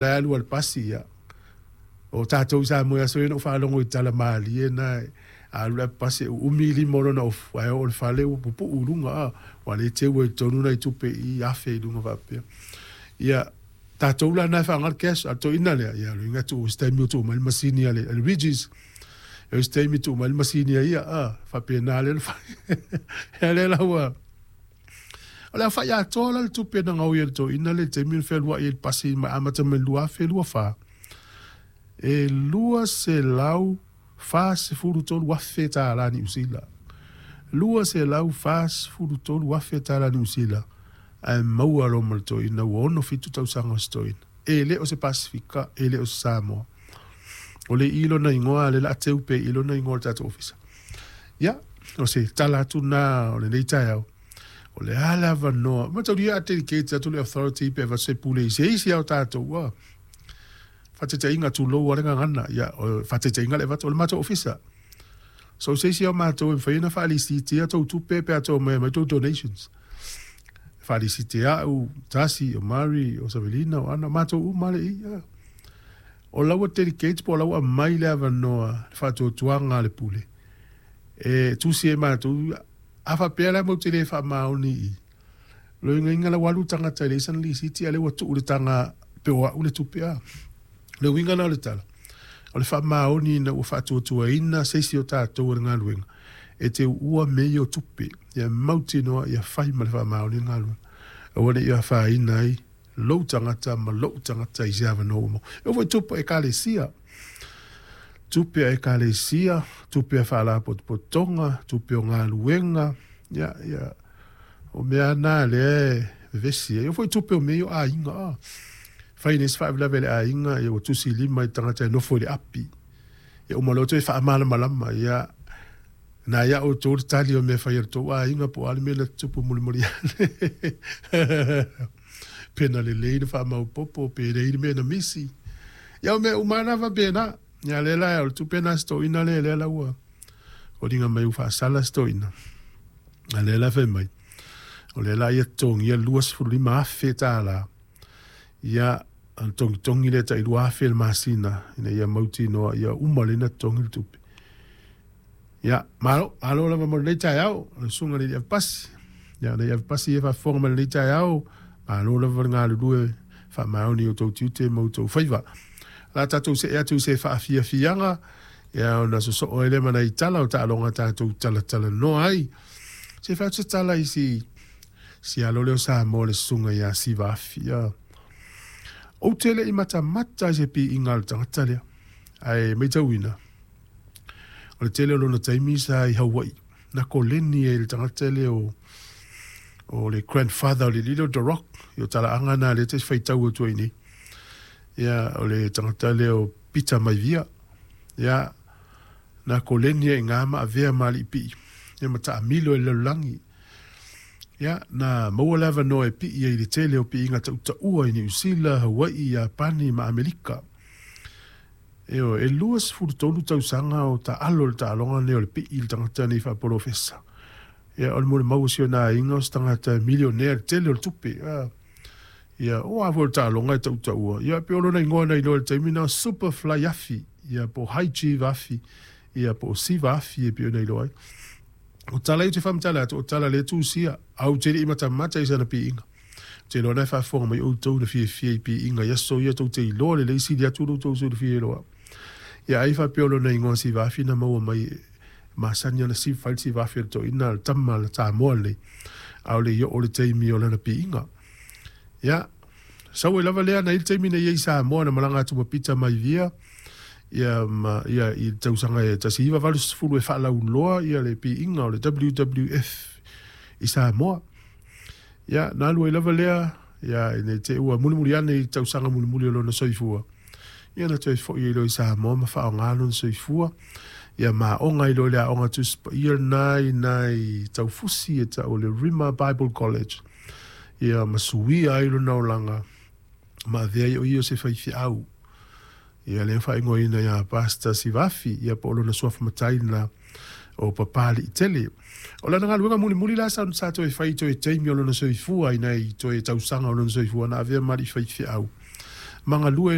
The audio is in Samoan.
La e alu a le pasi, ia. O tatou i Samoa i aso ia na ou faalogo i tala malie na e alu le pasi e uumi lima o lona ofu, ae oo i le fale ua pupuu i luga, a, ua le teu ai i totonu nai tupe i afe i luga faapea. Ia, tatou la na e faaaoga le cash, a o le toeaina lea, ia o le uiga e tuu i se taimi ua tuu mai le masini a le Regis, e i se taimi tuu mai le masini a ia, a, faapena lea ona fai. Ia lea la ua O le aofai atoa la o le tupe na gaoi e le toeaina lea i le taimi na fealuai ai i le pasi mai amata mai le 2024, e $243,000 Niu Sila. $243,000 tala Niu Sila ae maua loa ma le toeaina ua 67 tausaga o se toeaina. E le o se Pasefika, e le o se Samoa. O le i lona igoa, o lea o le a teu pea i lona igoa i le tatou ofisa. Ia, o se tala atu lena o lenei taeao. O le a le avanoa, mataulia a dedicate atu le authority pe avatu se pule i se isi lava o tatou, ua faataitaiga tulou lava le gagana, ia, o faataitaiga le avatu o le matou ofisa. So se isi lava o matou e mafai ona faalisitia tou tupe pe a tou omai e aumai tou donations. Faalisitia au, Tasi, o Mary, o Savelina, o Ana, o matou uma lava le i. Ia. O la ua dedicate po o la ua aumai le avanoa, le faatuatuaga a le pule e tusi ai matou. A faapea la matou te le faamaoni i i, loiga la ua alu le tagata e leai sana lisiti a o lea ua tuu i le taga pe o au le tupe a. O le uiga la o le tala, o le faamaoni ina ua faatuatuaina se isi o tatou e le galuega e te uua mea ia o tupe, ia mautinoa ia fai ma le faamaoni le galuega, aua ne i afaina ai lou tagata ma lou tagata i se avanoa ua maua. E oo foi i tupe a Ekalesia, tupe a Ekalesia, tupe a faalapotopotoga, tupe o galuega, ia, ia, o mea lava na lea e vevesi ai. E oo foi i tupe o mea ia o aiga, a fai nei se faalavelave a le aiga, ia ua tusi lima i le tagata e nofo i le api. Ia uma loa toe faamalamalama, ia, Na ia outou le tali o mea fai a le tou aiga po o a le mea na tutupu mulimuli ane. Pe na lelei na faamaopoopo pe leai le mea na misi. Ia o mea uma lava na faapena. Ia lea la o le tupe na a si toeaina lea lea la ua foliga mai ua faasala si toeaina. A lea la fai mai, o lea la ia totogia le $25,000. Ia, ona togitogi lea tai $2,000 le masina ina ia mautinoa ia uma lelei ona totogi le tupe. Ia, malo, malo lava mo lenei taeao, o le susuga i le Alii Avepasi. Ia, le Alii Avepasi e faafofoga mai lenei taeao, malo lava le galulue faamaoni i outou tiute ma outou faiva. O le a tatou see atu i se faafiafiaga, ia ona sosoo ai lea ma nai tala o taaloga tatou talatalanoa ai. Se i fai atu se tala i si, si alo lea o Samoa le susuga ia Siva Afi. Ia. Ou te le i matamata i se piiga a le tagata lea, ae matauina, O le tele o lona taimi sa i Hawaii, na koleni ai le tagata lea o o le grandfather o le alii lea o The Rock, i o talaaga na lea e te faitau atu ai nei. Ia, o le tagata lea o Peter Maivia. Ia, na koleni ai i ina ma avea ma alii pii, ia ma taamilo i le lalolagi. Ia, na maua le avanoa e pii ai i le tele o piiga tautaua i Niu Sila, Hawaii, Iapani ma Amerika. Ioe, e 23 tausaga o taalo i le taaloga lenei o le pii i le tagata nei faapolofesa. Ia, o le molimau a si ona aiga o se tagata e milionea i le tele o le tupe. Ia, o a foi o le taaloga e tautaua, ia, pei o lona igoa na iloa i le taimi lena o Superfly Afi, ia, po o High Chief Afi, ia, po o Siva Afi e pei ona iloa ai. O tala ia ou te faamatala atu, o tala lea e tusia, ae ou te le i matamata i sana piiga. Ou te iloa na e faafofoga mai outou na fiafia i piiga i aso ia tou te iloa lelei sili atu lo outou silafia i lou au. Ia ai faapea o lona igoa Sivafi na maua mai e masani ana si fai le Sivafi o le toeaina a le tama a le Samoa lenei, aole i oo le taimi o lana piiga. Ia, sau ai lava lea na i le taimi na i ai i Samoa na malaga atu ma Pita Maivia, ia ma ia i le tausaga e 1980 e faalauloa ia le piiga o le WWF i Samoa. Ia, na alu ai lava lea, ia, ina i te i ua mulimuli ane i tausaga mulimuli o lona soifua, ia na toe foi ai loa i Samoa ma faaaoga lona soifua, ia ma aoga ai loa i le Aoga Tusi Paia lena i nai taufusi e tau o le Rhema Bible College, ia ma suia ai lona olaga ma avea ai o ia o se faifeau. Ia lea faaigoaina ia Pastor Sivafi, ia po o lona suafa matai lena o Papaliitele. O lana galuega mulimuli la sa, sa toe fai i toe taimi o lona soifua, i nai toe tausaga o lona soifua, na avea ma alii faifeau. Ma galue.